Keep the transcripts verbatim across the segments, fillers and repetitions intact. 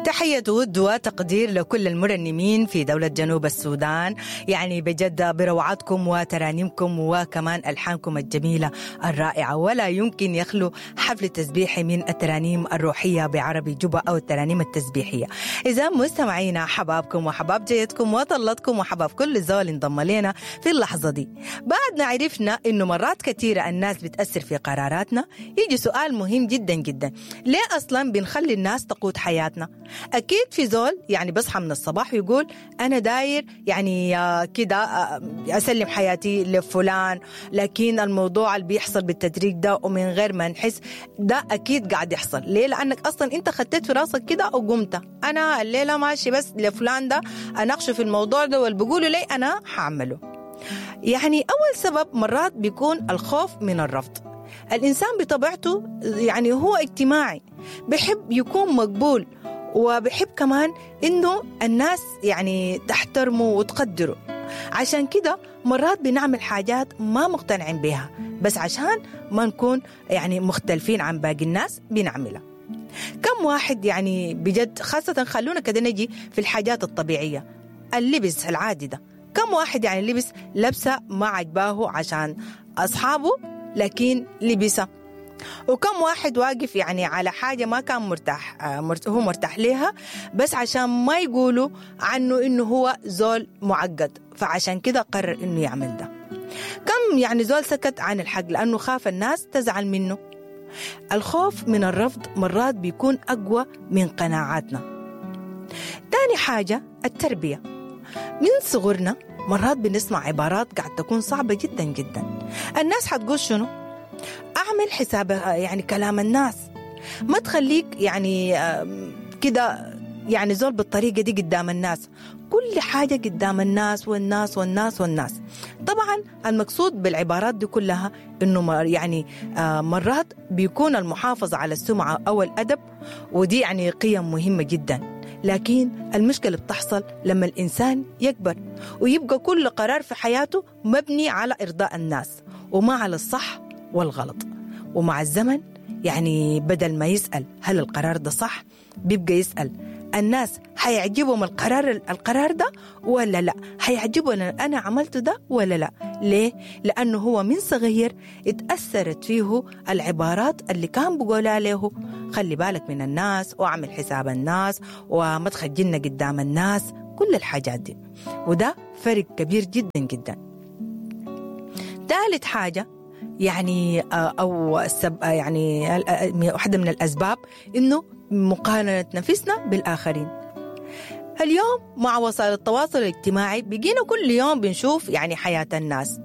تحية ود وتقدير لكل المرنمين في دولة جنوب السودان، يعني بجد بروعتكم وترانيمكم وكمان ألحانكم الجميلة الرائعة، ولا يمكن يخلو حفل تسبيحي من الترانيم الروحية بعربي جوبا أو الترانيم التسبيحية. إذا مستمعينا حبابكم وحباب جيتكم وطلتكم وحباب كل زول انضم لنا في اللحظة دي. بعد ما عرفنا إنه مرات كثيرة الناس بتأثر في قراراتنا، يجي سؤال مهم جدا جدا، ليه أصلا بنخلي الناس تقود حياتنا؟ أكيد في زول يعني بصحى من الصباح ويقول أنا داير يعني كده أسلم حياتي لفلان، لكن الموضوع اللي بيحصل بالتدريج ده ومن غير ما نحس ده أكيد قاعد يحصل. ليه؟ لأنك أصلا أنت خطيت في راسك كده وقمت أنا الليلة ماشي بس لفلان ده أناقشه في الموضوع ده واللي بيقوله لي أنا هعمله. يعني أول سبب مرات بيكون الخوف من الرفض. الإنسان بطبيعته يعني هو اجتماعي، بحب يكون مقبول، وبحب كمان إنه الناس يعني تحترمه وتقدره. عشان كده مرات بنعمل حاجات ما مقتنعين بها، بس عشان ما نكون يعني مختلفين عن باقي الناس بنعملها. كم واحد يعني بجد، خاصة خلونا كده نجي في الحاجات الطبيعية، اللبس العادي ده، كم واحد يعني لبس لبسة ما عجباه عشان أصحابه لكن لبسه، وكم واحد واقف يعني على حاجة ما كان مرتاح هو مرتاح لها بس عشان ما يقولوا عنه إنه هو زول معقد، فعشان كده قرر إنه يعمل ده. كم يعني زول سكت عن الحق لأنه خاف الناس تزعل منه. الخوف من الرفض مرات بيكون أقوى من قناعاتنا. تاني حاجة التربية. من صغرنا مرات بنسمع عبارات قاعد تكون صعبة جدا جدا. الناس حتقول شنو؟ أعمل حساب يعني كلام الناس، ما تخليك يعني كده يعني زول بالطريقة دي قدام الناس، كل حاجة قدام الناس والناس والناس والناس. طبعا المقصود بالعبارات دي كلها إنه يعني مرات بيكون المحافظة على السمعة أو الأدب، ودي يعني قيم مهمة جدا، لكن المشكلة بتحصل لما الإنسان يكبر ويبقى كل قرار في حياته مبني على إرضاء الناس وما على الصح والغلط. ومع الزمن يعني بدل ما يسأل هل القرار ده صح، بيبقى يسأل الناس هيعجبهم القرار القرار ده ولا لا، هيعجبهم أنا عملته ده ولا لا. ليه؟ لأنه هو من صغير اتأثرت فيه العبارات اللي كان بقولها له، خلي بالك من الناس واعمل حساب الناس وما تخجلنا قدام الناس، كل الحاجات دي. وده فرق كبير جدا جدا. ثالث حاجة يعني أو السب يعني واحدة من الأسباب إنه مقارنة نفسنا بالآخرين. اليوم مع وسائل التواصل الاجتماعي بقينا كل يوم بنشوف يعني حياة الناس،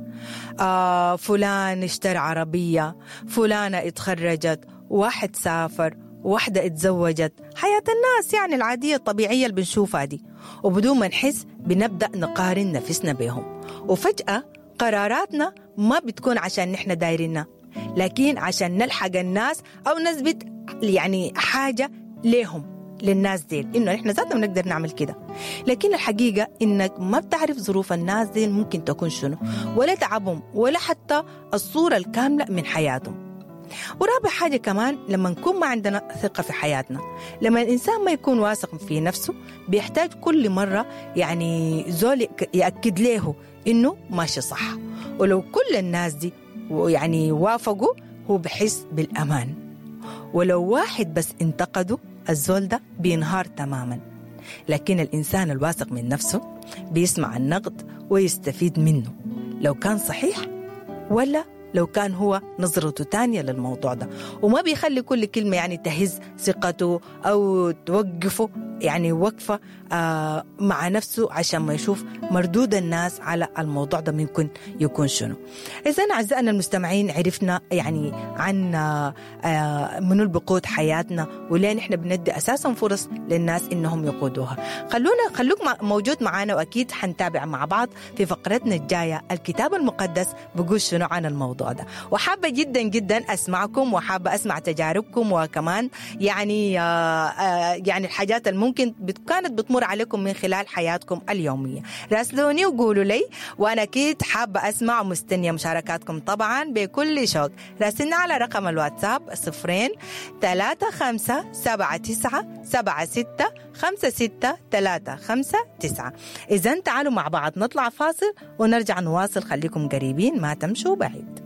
آه فلان اشترى عربية، فلانة اتخرجت، واحد سافر، واحدة اتزوجت، حياة الناس يعني العادية الطبيعية اللي بنشوفها دي، وبدون ما نحس بنبدأ نقارن نفسنا بهم. وفجأة قراراتنا ما بتكون عشان نحن دايرينها، لكن عشان نلحق الناس أو نثبت يعني حاجة ليهم للناس ديل إنه نحن ذاتنا بنقدر نعمل كده. لكن الحقيقة إنك ما بتعرف ظروف الناس ديل ممكن تكون شنو، ولا تعبهم، ولا حتى الصورة الكاملة من حياتهم. ورابع حاجة كمان لما نكون ما عندنا ثقة في حياتنا، لما الإنسان ما يكون واثق في نفسه بيحتاج كل مرة يعني زول يأكد له إنه ماشي صح، ولو كل الناس دي يعني وافقوا هو بحس بالأمان، ولو واحد بس انتقده الزول ده بينهار تماما. لكن الإنسان الواثق من نفسه بيسمع النقد ويستفيد منه لو كان صحيح ولا لو كان هو نظرته تانية للموضوع ده، وما بيخلي كل كلمة يعني تهز ثقته أو توقفه يعني وقفة آه مع نفسه عشان ما يشوف مردود الناس على الموضوع ده ممكن يكون شنو. إذن أعزائنا المستمعين عرفنا يعني عن آه منو بقود حياتنا وليه نحن بندي أساسا فرص للناس إنهم يقودوها. خلونا خلوك موجود معنا، وأكيد حنتابع مع بعض في فقرتنا الجاية الكتاب المقدس بقول شنو عن الموضوع ده. وحابة جدا جدا أسمعكم، وحابة أسمع تجاربكم، وكمان يعني آه يعني الحاجات الممكن كانت بتمر عليكم من خلال حياتكم اليومية. راسلوني وقولوا لي، وأنا أكيد حابة أسمع ومستنية مشاركاتكم طبعا بكل شوق. راسلنا على رقم الواتساب صفرين ثلاثة خمسة سبعة تسعة سبعة ستة خمسة ستة تلاتة خمسة تسعة. إذا تعالوا مع بعض نطلع فاصل ونرجع نواصل، خليكم قريبين ما تمشوا بعيد.